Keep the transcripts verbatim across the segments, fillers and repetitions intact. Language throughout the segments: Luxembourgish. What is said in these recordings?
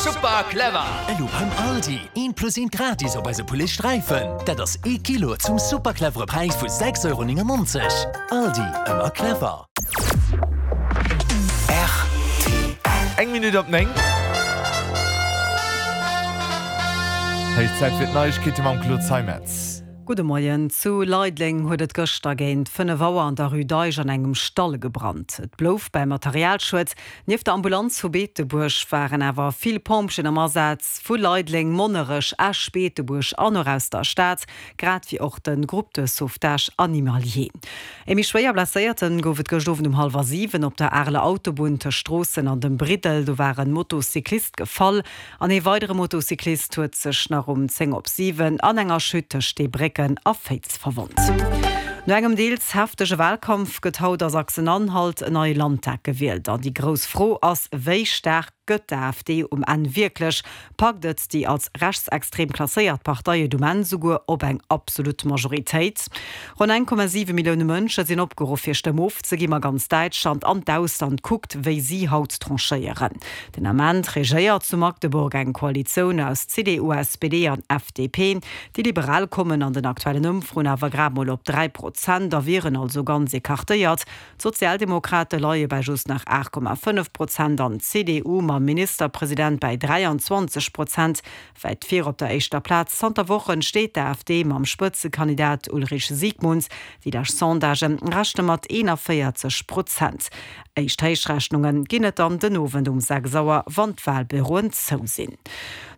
Super clever! Elo beim Aldi, eent plus eent gratis op eise Poulet Sträifen. Dat ass ee Kilo zum super clevere Präis vu sechs Euro néngennonzeg. Aldi, ëmmer clever! Eng Minutt op néng. Héich Zäit fir d'Neiegkeete mam Claude Zeimetz. Gudde Moien. Zu Leideleng huet et gëschter géint fënnef Auer an der Rue d'Eich an engem Stall gebrannt. Et blouf beim Materialschued. Nieft der Ambulanz vu Beetebuerg waren awer vill Pompjeeën am Asaz, vu Leideleng, Monnerech, Esch, Beetebuerg an och aus der Stad, grad wéi och de Groupe de sauvetage animalier. Ee méi schwéier Blesséierte gouf et gëscht Owend um hallwer siwen op der Areler Autobunn tëscht Stroossen an dem Briddel. Do war en Motocyclist gefall an ee weidere Motocyclist huet sech nach um zéng op siwen an enger Chute tëscht Steebrécken a Féiz verwonnt. No engem deels heftege Walkampf gëtt haut a Sachsen-Anhalt en neie Landtag gewielt. An déi grouss Fro ass, Wéi staark gëtt d'AfD um Enn wierklech? Packt et déi als rechtsextrem klasséiert Partei et um Enn souguer op eng absolut Majoritéit? Ronn eng Komma siwe Millioune Mënsche sinn opgeruff fir Stëmm ofzeginn, ma ganz Däitschland an d'Ausland kuckt, wéi si haut tranchéieren. Den Ament regéiert zu Magdeburg eng Koalitioun aus C D U, S P D an F D P. Déi Liberal kommen an den aktuellen Ëmfroen awer grad mol op dräi Prozent a wieren also ganz ecartéiert. D'Sozialdemokrate leie bei just nach aacht Komma fënnef Prozent an d'C D U mam Ministerpresident bäi dräianzwanzeg Prozent wäit vir op der éischter Plaz. Zanter Wochen steet d'AfD mam Spëtzekandidat Ulrich Siegmund. Déi lescht Sondagë rechne mat eenanvéierzeg Prozent. Éischt Héichrechnunge ginn et dann den Owend um sechs Auer, wann d'Walbüroen zou sinn.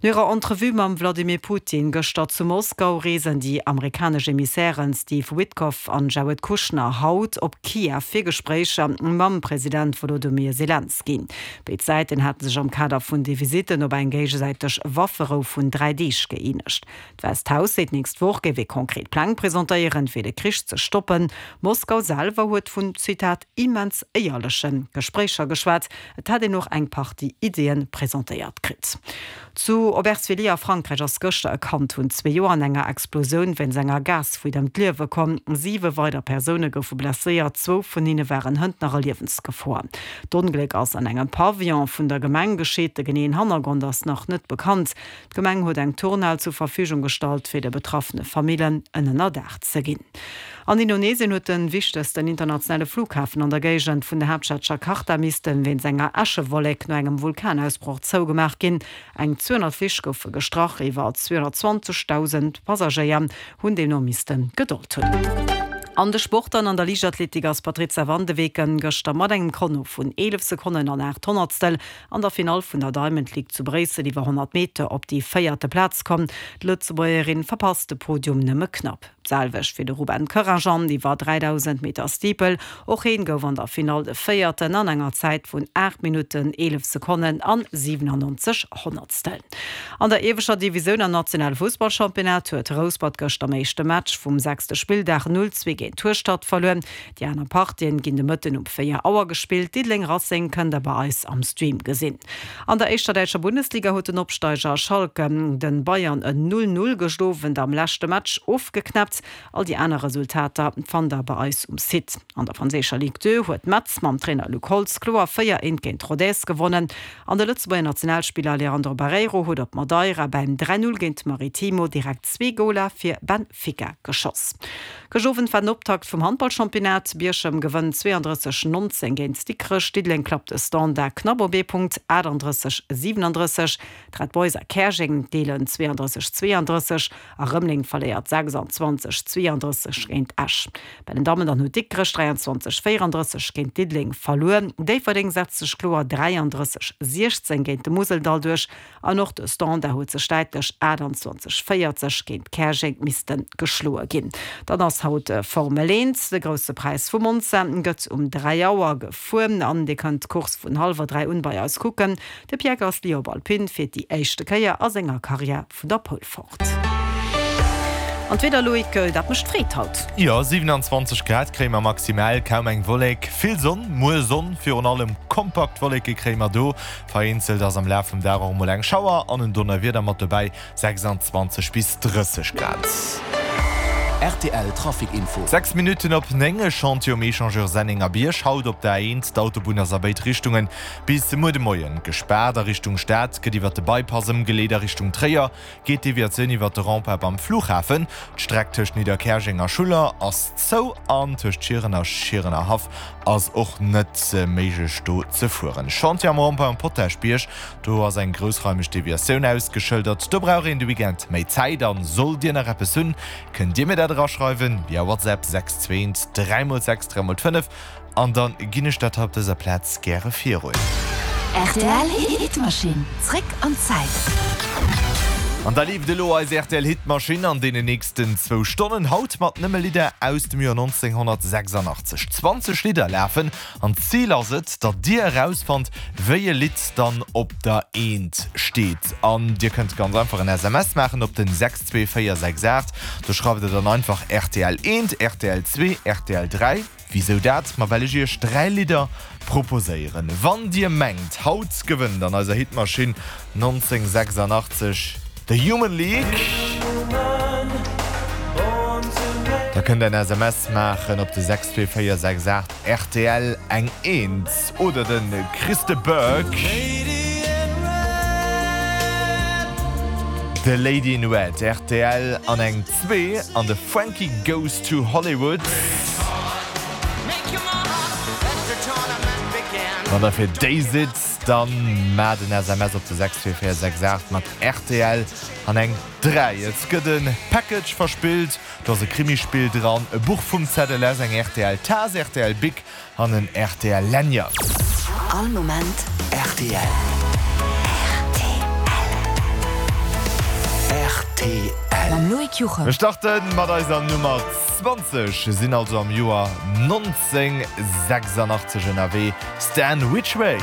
No hirer Entrevue mam Wladimir Putin gëschter zu Moskau reesen déi amerikanesch Emissären Steve Witkoff an Jared Kushner haut op Kiew fir Gespréicher mam President Wolodymyr Selenskyj. Béid Säiten hate sech am Kader vun de Visitten op eng géigesäiteg Wafferou vun dräi Deeg gëeenegt. D'Wäisst Haus seet, d'nächst Woch géif ee konkret Pläng presentéieren, fir de Krich ze stoppen. Moskau selwer huet vun, Zitat, immens éierleche Gespréicher geschwat. Et hätt een och eng Partie Ideeë presentéiert kritt. Zu Aubervilliers a Frankräich ass gëschter e Kand vun zwee Joer an enger Explosioun wéinst enger Gasfuite ëm d'Liewe komm. Siwe weider Persoune goufe blesséiert, zwou vun hinne waren hënt nach a Liewensgefor. D'Ongléck ass an engem Pavillon vun der Gemeng geschitt, de geneeën Hannergrond ass nach net bekannt. D'Gemeng huet eng Turnhal zur Verfügung gestallt, fir de betraffene Famillen en Ënnerdaach ze ginn. An Indonesien huet de wichtegsten internationale Flughafen an der Géigend vun der Haaptstad Jakarta misste wéinst enger Äschewollek no engem Vulkanausbroch zougemaach ginn. Eng zweehonnert Flich goufe gestrach, iwwer zweehonnertzwanzegdausend Passagéier hunn deemno misste Gedold hunn. An de Sport dann, An der Liichtathletik ass d'Patrizia van de Weken gëschter mat engem Chrono vun eelef Sekonnen an aacht Honnertstel an der Finall vun der Diamond League zu Bréissel iwwer honnert Meter op déi véierte Plaz komm. D'Lëtzebuergerin verpasst de Podium nëmme knapp. D'selwecht fir de Ruben Koerrajan iwwer dräidausend Meter Steeple. Och heen gouf an der Finall de Véierten an enger Zäit vun aacht Minutten, eelef Sekonnen an siwenannonzeg Honnertstel. An der ieweschter Divisioun am nationale Fussballchampionnat huet Rouspert gëschter am éischte Match vum sechste Spilldag null zwee géint Hueschtert verluer. Déi aner Partien ginn de Mëtten um véier Auer gespillt. Diddeleng-Racing kënnt der bei eis am Stream gesinn. An der éischter däitscher Bundesliga huet den Opsteiger Schalke den Bayern en null null gëscht Owend am leschte Match ofgeknäppt. All déi aner Resultater fannt der bei eis um Site. An der franséischer Ligue deux huet Metz mam Trainer Luc Holtz kloer véier eent géint Rodez gewonnen. An de Lëtzebuerger Nationalspiller Leandro Barreiro huet op Madeira beim dräi null géint Maritimo direkt zwee Goler fir Benfica geschoss. Gëscht Owend war den Optakt vum Handballchampionnat. Bierchem gewënnt zweeandrësseg neunzéng géint Dikrech. Diddeleng klappt de Standard knapp op ee Punkt, achtandrësseg siewenandrësseg. D'Red Boys a Käerjeng deelen zweeandrësseg zweeandrësseg a Rëmeleng verléiert sechsanzwanzeg zweeandrësseg géint Esch. Bei den Dammen dann huet Dikrech dräianzwanzeg véierandrësseg géint Diddeleng verluer. Déifferdeng setzt sech kloer dräiandrësseg siechzéng géint de Museldall duerch an och de Standard huet sech däitlech achtanzwanzeg véierzeg géint Käerjeng misste geschloe ginn. Dann ass haut Formel eent, de Grousse Präis vu Monza gëtt um dräi Auer gefuer an Dir kënnt d'Course vun hallwer dräi un bei eis kucken. De Pierre Gasly op Alpine fiert déi éischte Kéier a senger Karriär vun der Pole fort. An d'Wieder, Loïc, dat mécht Freed haut. Jo, siewenanzwanzeg Grad kréie mer maximal, kaum eng Wollek, vill Sonn. Muer Sonn, virun allem kompakt Wolleke kréie mer do. Vereenzelt ass am Laf vum Dag och emol eng Schauer an en Donnerwieder mat dobäi, sechsanzwanzeg bis drësseg Grad. Rtl Trafic Info. Sechs Minutten op néng, E Chantier um Echangeur Sennengerbierg haut op der A eent. D'Autobunn ass a béid Richtungen bis muer de Moien gespaart. A Richtung Stad gëtt iwwer de Bypass ëmgeleet, a Richtung Tréier geet d'Deviatioun iwwer de Rond-point beim Flughafen. D'Streck tëscht Nidderkäerjeng a Schuller ass zou an tëscht Schieren a Schierenerhaff ass och net méiglech do ze fueren. Chantier am Rond-point um Potaschbierg, do ass eng groussraimeg Deviatioun ausgeschëldert. Do brauch een de Weekend méi Zäit an sollt Dir nach eppes hunn, kënnt Dir mir dat eraschreiwen via WhatsApp sechs zwee eent dräi mol sechs dräi mol fënnef an dann ginn ech dat hei op dëser Plaz gäre virun. Rtl Hitmaschinn, zréck an d'Zäit. An da leeft elo eis rtl Hitmaschinn an deenen nächsten zwou Stonnen, haut mat nëmme Lidder aus dem Joer nonzénghonnertsechsandachtzeg. Zwanzeg Lidder lafen an d'Zil ass et, datt dir erausfannt, wéi e Lidd dann op der Eent steet. An dir kënnt ganz einfach en S M S maachen op den sechs zwee véier sechs aacht. Do schreift der dann einfach rtl eent, rtl zwee, rtl dräi. Wisou dat? Ma well ech iech dräi Lidder proposéieren. Wann dir mengt, haut gewënnt an eiser Hitmaschinn nonzéngsechsandachtzeg The Human League, da kënnt der en S M S maachen op de sechs zwee véier sechs aacht rtl eng eent oder de Chris de Burgh The Lady in Red rtl an eng zwee an de Frankie Goes to Hollywood. Wann der fir déi sidd, dann maacht en S M S op de sechs zwee véier sechs aacht mat rtl an eng dräi. Et gëtt e Package verspillt, do ass e Krimispill dran, e Buch vum Z L S, eng rtl Taass, rtl Bic an en rtl Lanyard. All Moment rtl. Rtl. Mam Loïc Juchem. Mir starte mat eiser Nummer zwanzeg, sinn also am Joer nonzéngsechsandachtzeg ënnerwee. Stan Ridgway.